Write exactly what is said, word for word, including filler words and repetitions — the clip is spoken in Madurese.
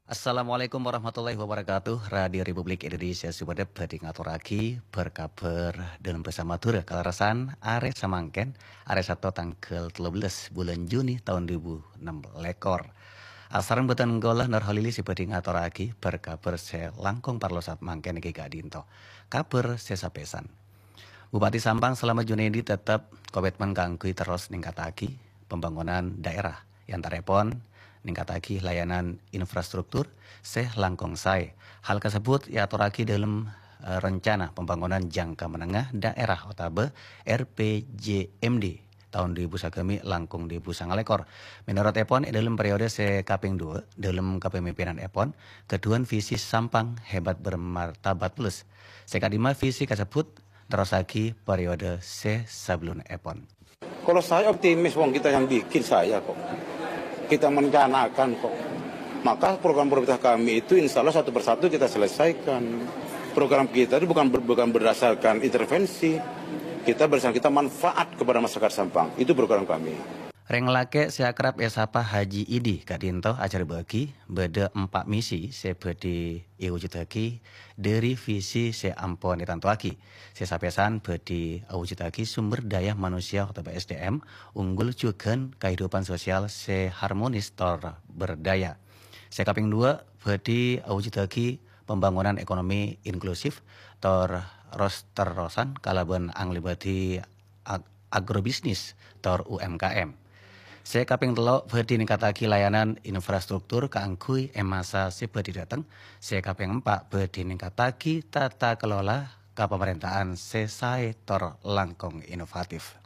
Assalamualaikum warahmatullahi wabarakatuh. Radio Republik Indonesia Sumenep bhâdhi ngatorraghi bâr-kabhâr dâlem bhâsa Madhurâ kalerressan arè samangkèn, arè Sabtu tangghâl tello bellas bulân Juni taon duwâ èbu ennem lèkor. Asareng bhâdhân kaulâ Nur Holili sè bhâdhi ngatorraghi bâr-kabhâr sè langkong parlo saat mangkèn èngghi ka'dinto. Kabhâr sè sapèsan. Bupati Sampang Slamet Junaidi tetep komitmen kaangghuy terros ningkataghi pembangunan daerah, è antarèpon ningkataghi layanan infrastruktur sè langkong saè. Hal kasebbhut èatorraghi dâlem, eh, Rencana Pembangunan Jangka Menengah Daerah otabâ R P J M D taon duwâ èbu sagâmè' langkong duwâ èbu sanga lèkor. Mènorot èpon, è dâlem periode sè kapèng duwâ', dâlem kapamimpinanèpon, ghâdhuwân visi Sampang Hebat Bermartabat Plus. Sè ka'dimma visi kasebbhut nerrossaghi periode sè sabellunèpon. Kalau saya optimis, wong kita yang bikin saya kok. Kita merencanakan kok. Maka program prioritas kami itu insya Allah satu persatu kita selesaikan. Program kita itu bukan ber-, bukan berdasarkan intervensi. Kita berdasarkan kita manfaat kepada masyarakat Sampang. Itu program kami. Rèng lakè' sè akrab èsapa Haji Idi ka'dinto ajhârbâ'âghi bâdâ empa' misi sè bhâdhi èwujuddhâghi dâri visi sè ampon ètantowaghi. Sè sapèsan bhâdhi awujuddhâghi sumber daya manusia otabâ S D M unggul jhughân kahidupan sosial sè harmonis tor berdaya. Sè kapèng duwâ', bhâdhi awujuddhâghi pembangunan ekonomi inklusif tor ros-terrosan kalabân anglèbâdhi ag-, agrobisnis tor U M K M. Sè kapèng tello', bhâdhi ningkataghi layanan infrastruktur kaangghuy è masa sè bhâdhi dâteng. Sè kapèng empa', bhâdhi ningkataghi tata kelola kapamarènta'an sè saè tor langkong inovatif.